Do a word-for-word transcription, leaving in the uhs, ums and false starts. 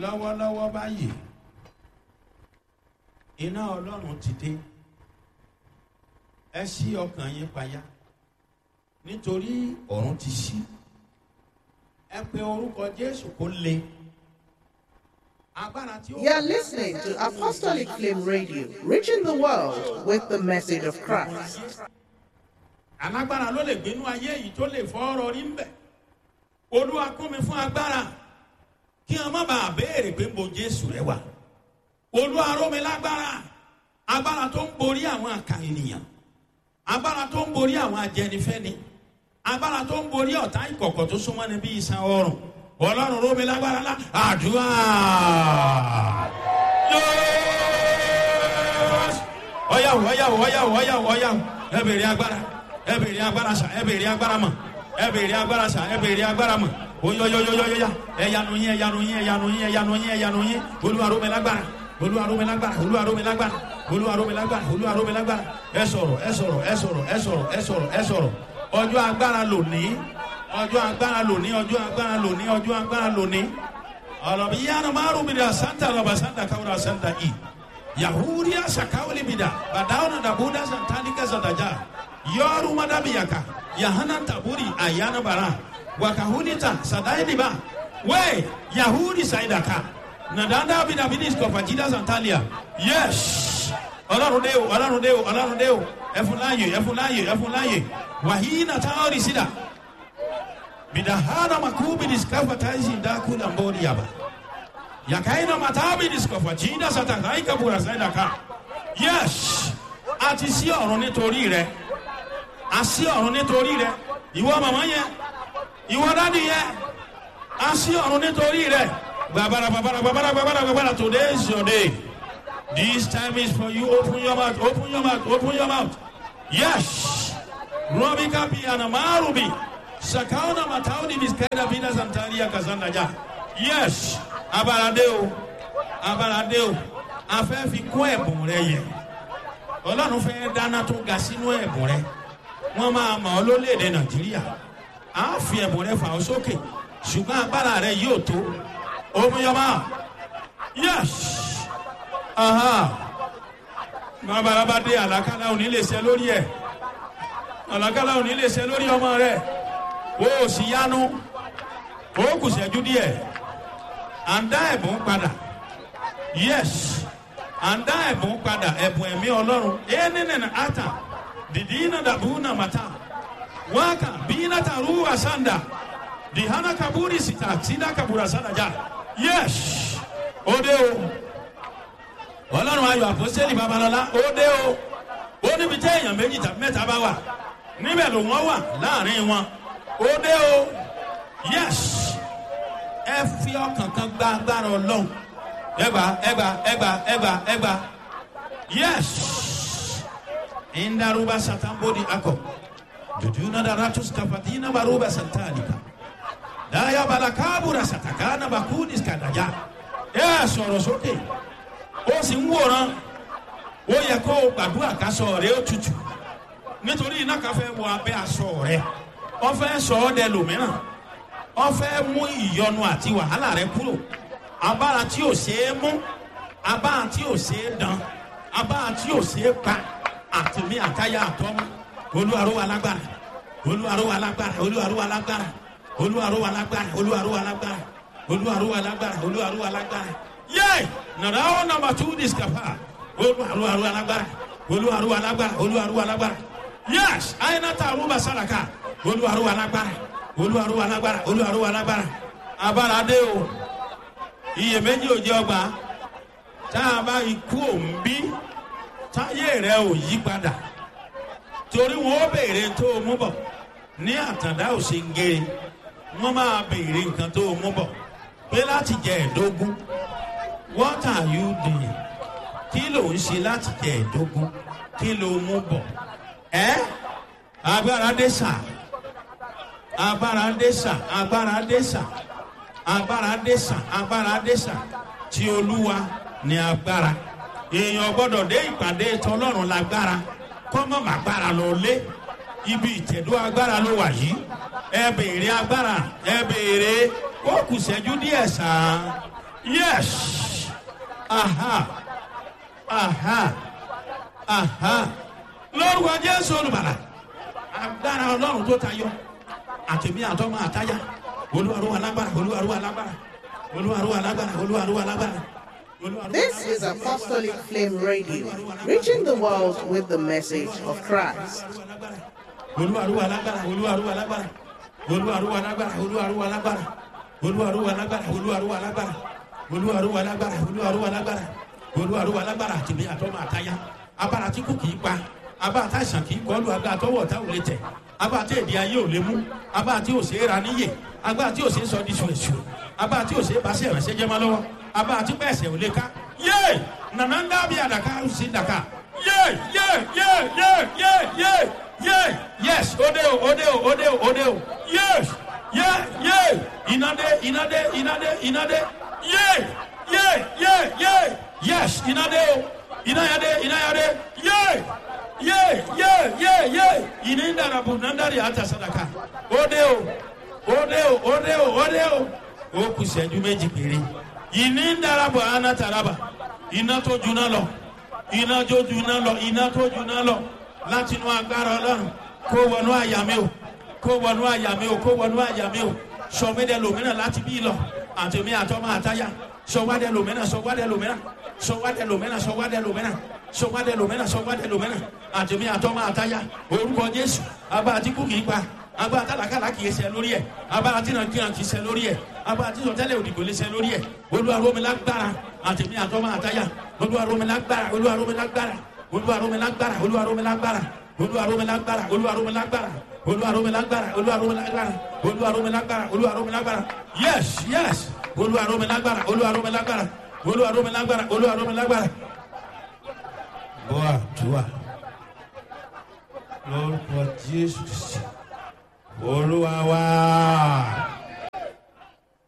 Lọ́wọ́lọ́wọ́ báyìí, iná Ọlọ́run ti dé. Ẹ ṣí ọkàn yín payá, nítorí ọ̀run ti ṣí. Ẹ pe orúkọ Jésù kó le. Agbára tí ó. You are listening to Apostolic Flame Radio, reaching the world with the message of Christ. Alágbára ló lè gbénú ayé yìí tó lè fọ́ ọ̀rọ̀ rí ń bẹ̀. Olúwa kún mi fún agbára, kí wọn má bàa béèrè pé mo Jésù rẹ wà. Olúwa ró mi lágbára, agbára tó ń borí àwọn àkà ènìyàn, agbára tó ń borí àwọn ajẹnifẹ́ni, agbára tó ń borí ọ̀tá ìkọ̀kọ̀ tó súnmọ́ ni bí iṣan ọrùn. Ọlọ́run ró mi lágbára lá àdúrà. Yes! Ọ̀yàwó, ọ̀yàwó, ọ̀yàwó, ọ̀yàwó, ọ̀yàwó. Ẹ bèrè agbára, ẹ bèrè agbára sà, ẹ bèrè agbára mọ̀, ẹ bèrè agbára sà, ẹ bèrè agbára mọ̀. Oyoyoyoyoya, ẹyanu yín, ẹyanu yín, ẹyanu yín, ẹyanu yín, ẹyanu yín. Olúwa ró mi lágbára, Olúwa ró mi lágbára, Olúwa ró mi lágbára, Olúwa ró mi lágbára, Olúwa ró mi lágbára. Ẹ sọ̀rọ̀, ẹ sọ̀rọ̀, ẹ sọ̀rọ̀, ẹ sọ̀rọ̀, ẹ sọ̀rọ̀, ẹ sọ̀rọ̀. Ọjọ́ agbára lónìí, ọjọ́ agbára lónìí, ọjọ́ agbára lónìí, ọjọ́ agbára lónìí. Ọlọ́bi yánnà márùn mi dà santa lọ́ba santa káwúrà santa i. Yahudiya sakawuli mi dà bàdáwọn dàbúdà santanika santaja. Yọrù madabiyaka yahana taburi ayana bara wakahunita sadainiba we Yahudi saidaka nadanda bidabinisko fajida santalia. Yes, Ọlọ́run dé o, Ọlọ́run dé o, Ọlọ́run dé o. Ẹfun láàyè, ẹfun láàyè, ẹfun láàyè. Wàhíínà táwọn sídà bidahana makubi diskafa taisi ndakula mbori yaba yakaina matabi diskafa jinda satakaika bura saidaka. Yes, àti sí ọ̀run nítorí rẹ, àsí ọ̀run nítorí rẹ. Ìwọ màmá yẹn, ìwọ dádì yẹn, a sí ọ̀run nítorí rẹ. Gbàbàrà, gbàbàrà, gbàbàrà, gbàbàrà, gbàbàrà. Today is your day. This time is for you. Open your mouth, open your mouth, open your mouth. Yes, robika bi anamarubi sakauna matauni biskaida bina santaria kazanda ja. Yes, abalade o, abalade o. A fẹ́ fi kún ẹ̀bùn rẹ yẹ. Ọlọ́run fẹ́ dáná tó ga sínú ẹ̀bùn rẹ. Wọ́n máa mọ̀ ọ́ lólèdè Nàìjíríà. A fi ẹ̀bùn rẹ fà ọ́ sókè, ṣùgbọ́n agbára rẹ yóò tó. Omiyọba. Yes, aha. Babalaba dé, àlàkálà òní lè ṣe lórí ẹ. Àlàkálà òní lè ṣe lórí ọmọ rẹ. O ò sì yanu. O kù ṣẹ́jú díẹ̀. À ń dá ẹ̀bùn padà. Yes, à ń dá ẹ̀bùn padà, ẹ̀bùn ẹ̀mí Ọlọ́run. Ẹ̀ẹ́nìnìnà ata dìdínà dàbúnà màtá waka bina taruwa sanda dihana kaburi sita sida kabura sanda ja. Yes, òde o. Ọlọ́run ayọ̀ àpọ́sẹ́lì babalọ́lá, òde o. Ó níbi tí èèyàn méjì tàbí mẹ́ta bá wà, níbẹ̀ ló wọ́n wà láàrin wọn. Òde o. Yes, ẹ fi ọkàn kan gba agbára Ọlọ́run. Ẹgbà, ẹgbà, ẹgbà, ẹgbà, ẹgbà. Yes, indaruba satambodi akọ jujuna daratus kafatina baruba santalika daya balakabura satakana bakudis kadaja. Ẹ sọ̀rọ̀ sókè, ó sì ń wòran. Ó yẹ kó o gbàdúrà ká sọ rẹ ó tutù, nítorí iná kan fẹ́ wọ abẹ́ aṣọ rẹ. Wọ́n fẹ́ sọ ọ́ dẹ lòmíràn, wọ́n fẹ́ mú ìyọnu àti wàhálà rẹ kúrò. Abára tí ò ṣeé mú, abára tí ò ṣeé dán, abára tí ò ṣeé pa, àtìmí àtayá àtọ́mú. Olúwaró wa lágbára, Olúwaró wa lágbára, Olúwaró wa lágbára, Olúwaró wa lágbára, Olúwaró wa lágbára, Olúwaró wa lágbára, Olúwaró wa lágbára. Yé, nàrà ó nàmbà tú discapa. Olúwaró wa lágbára, Olúwaró wa lágbára, Olúwaró wa lágbára. Yés, àyìnàtà àrùbà sàràkà. Olúwaró wa lágbára, Olúwaró wa lágbára, Olúwaró wa lágbára. Abára dé o, iyèméjì ò jẹ ọgbà. Tá a bá ikú òun bí táyé rẹ ò yí padà, torí wọn ó béèrè tó o mú bọ̀. Ní àtàndá òsèǹgèrè, wọn máa béèrè nǹkan tó o mú bọ̀ pé láti jẹ ẹ̀dógún. What are you doing? Kí ló ń ṣe láti jẹ ẹ̀dógún? Kí ló mú bọ̀ ẹ́? Agbára dé sà, agbára dé sà, agbára dé sà, agbára dé sà, agbára dé sà. Tí Olúwa ní agbára. Èèyàn gbọ́dọ̀ dé ìpàdé tọlọ́run lágbára kọ́mọ́ màgbára lọ lé. Ibi ìtẹ̀dó agbára ló wà yìí. Ẹ béèrè agbára, ẹ béèrè. Ó kù sẹ́jú díẹ̀ sàn. Yes. Aha. Aha. Aha. Lórúkọ Jésù Olùbàlà. Agbára Ọlọ́run tó tayọ. Àtẹ̀mí àtọ́mọ àtáyà. Olúwarúwa lágbára. Olúwarúwa lágbára. Olúwarúwa lágbára. Olúwarúwa lágbára. This is Apostolic Flame Radio, reaching the world with the message of Christ. Olúwarúwa lágbára. Olúwarúwa lágbára. Olúwarúwa lágbára. Olúwarúwa lágbára. Olúwarúwa lágbára. Olúwarúwa lágbára. Olúwarúwa lágbára. Olúwarúwa lágbára. Olúwarúwa lágbára. Àtẹ̀mí àtọ́mọ àtáyà. Abára tí kò kì í pa. Abá àtàṣàn kì í kọlu agbá àtọwọ́ ọ̀tá ò lè tẹ̀. Abá àti èdè ayé ò lè mú. Abá àti òsè ra níyè. Agbá àti òsè sọ di ṣùṣù. Abá àti òsè bá sí ẹ̀rẹ̀ṣẹ̀ jẹ́ mọ́ lọ́wọ́. Abá àti pẹ̀sẹ̀ ò lè ká. Yé! Nànà ń dábì àdàkà ó sì dàkà. Yé! Yé! Yé! Yé! Yé! Yé! Yé! Yes! Ódé o! Ódé o! Ódé o! Ódé o! Yes! Yé! Yé! Ìnádé! Ìnádé! Ìnádé! Ìnádé! Yé! Yé! Yé! Yé! Yes! Ìnádé o! Ìnáyàdé! Ìnáyàdé! Yé! Ye ye ye ye ìní ń dara bò ń dari àtà sadaka ó dé o ó dé o ó dé o ó dé o ó kù sẹ́jú méjì péré ìní ń dara bò àná taraba iná tó juná lọ iná tó juná lọ iná tó juná lọ láti inú agbára Ọlọ́run kó wọnú àyà mi o kó wọnú àyà mi o kó wọnú àyà mi o sọmídẹ lòmíràn láti bí lọ àtẹmí àtọmọ àtayà sọwádẹ lòmíràn sọwádẹ lòmíràn sọwádẹ lòmíràn sọwádẹ lòmíràn sọwádẹ lòmíràn sọwádẹ lòmíràn àtẹmí àtọmọ àtayà orúkọ Jésù abá àti kú kìí pa abá àtàlàkàlà kìí ṣe lórí ẹ abá àtìrànkìràn kìí ṣe lórí ẹ abá àtìsọtẹ́lẹ̀ òdìgbò lè ṣe lórí ẹ olúwarómilágbára àtẹmí àtọmọ àtayà olúwarómilágbára olúwarómilágbára olúwarómilágbára olúwarómilágbára olúwarómilágbára olúwarómilágbára olúwarómilágbára olúwarómilágbára olúwarómilágbára olúwarómilágbára yes yes olúwarómilágbára olúwarómilágbára olúwarómilágbára olúwarómilágbára. Bọ́ àdúrà lórúkọ Jésù Olúwa wá.